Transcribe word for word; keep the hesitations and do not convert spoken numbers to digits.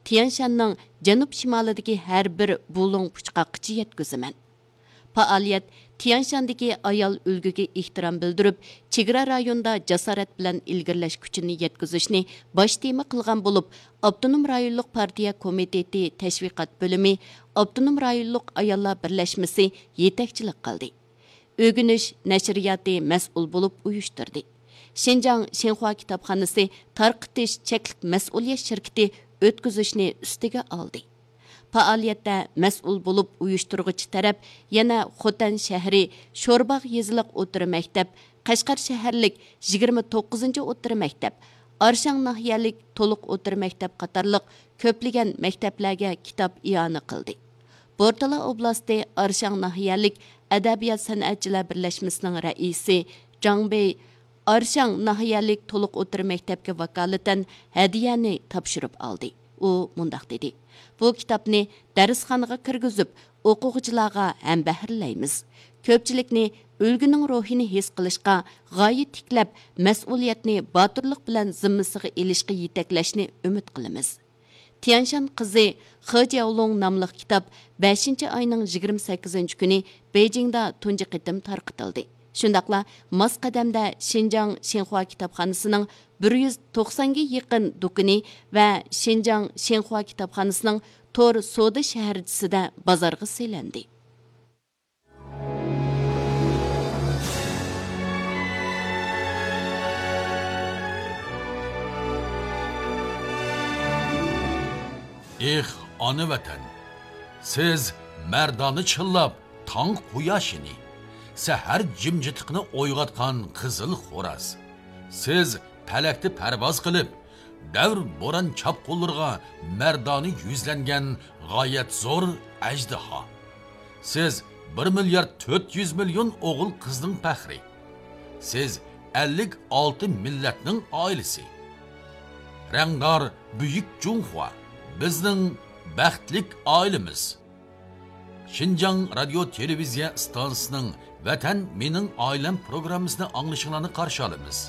تيەنشاننىڭ جەنۇب شىمالىدىكى ھەر بىر بۇلۇڭ پۇچقاققىچە يەتكۈزىمەن. پائالىيەت تيەنشاندىكى ئايال ئۈلگىگە ئېھتىرام بىلدۈرۈپ، چېگرا رايوندا جاسارەت بىلەن ئىلگىرىلەش كۈچىنى يەتكۈزۈشنى باش تېما قىلغان بولۇپ، ئاپتونوم رايونلۇق پارتىيە كومىتېتى تەشۋىقات بۆلۈمى، ئاپتونوم رايونلۇق ئاياللار بىرلەشمىسى يېتەكچىلىك قىلدى. ئۆگىنىش نەشرىياتى مەسئۇل بولۇپ ئۇيۇشتۇردى. شىنجاڭ شىنخۇا كىتابخانىسى تارقىتىش چەكلىك مەسئۇلىيەت شىركىتى ئۆتكۈزۈشنى ئۈستىگە ئالدى. پائالىيەتتە مەسئۇل بولۇپ ئۇيۇشتۇرغۇچى تەرەپ يەنە خوتەن شەھىرى شورباغ يېزىلىق ئوتتۇرا مەكتەپ، قەشقەر شەھەرلىك يىگىرمە توققۇزىنچى ئوتتۇرا مەكتەپ، ئارشاڭ ناھىيەلىك تولۇق ئوتتۇرا مەكتەپ قاتارلىق كۆپلىگەن مەكتەپلەرگە كىتاب ئىئانە قىلدى. بورتالا ئوبلاستى ئارشاڭ ناھىيەلىك ئەدەبىيات سەنئەتچىلەر بىرلەشمىسىنىڭ رەئىسى جاڭ بېي ئارشاڭ ناھىيەلىك تولۇق ئوتتۇرا مەكتەپكە ۋاكالىتەن ھەدىيەنى تاپشۇرۇپ ئالدى. ئۇ مۇنداق دېدى: «بۇ كىتابنى دەرسخانىغا كىرگۈزۈپ، ئوقۇغۇچىلارغا ھەمبەھىرلەيمىز. كۆپچىلىكنى ئۈلگىنىڭ روھىنى ھېس قىلىشقا، غايە تىكلەپ، مەسئۇلىيەتنى باتۇرلۇق بىلەن زىممىسىغا ئېلىشقا يېتەكلەشنى ئۈمىد قىلىمىز.» تيەنشان قىزى خې جياۋلۇڭ ناملىق كىتاب بەشىنچى ئاينىڭ يىگىرمە سەككىزىنچى كۈنى بېيجىڭدا تۇنجى قېتىم تارقىتىلدى. شۇنداقلا ماس قەدەمدە شىنجاڭ شىنخۇا كىتابخانىسىنىڭ بىر يۈز توقسانغا يېقىن دۇكىنى ۋە شىنجاڭ شىنخۇا كىتابخانىسىنىڭ تور سودا شەھەرچىسىدە بازارغا سېلىندى. ئېھ، ئانا ۋەتەن! سىز مەردانە چىللاپ تاڭ قۇياشىنى، سەھەر جىمجىتلىقىنى ئويغاتقان قىزىل خوراز. سىز پەلەكتە پەرۋاز قىلىپ، دەۋر بوران چاپقۇنلىرىغا مەردانە يۈزلەنگەن غايەت زور ئەجدىھا. سىز بىر مىليارد تۆت يۈز مىليون ئوغۇل قىزنىڭ پەخرى. سىز ئەللىك ئالتە مىللەتنىڭ ئائىلىسى. رەڭدار بۈيۈك جۇڭخۇا، بىزنىڭ بەختلىك ئائىلىمىز. شىنجاڭ رادىيو تېلېۋىزىيە ئىستانسىسىنىڭ ۋەتەن مېنىڭ ئائىلەم پروگراممىسىنى ئاڭلىشىڭلارنى قارشى ئالىمىز.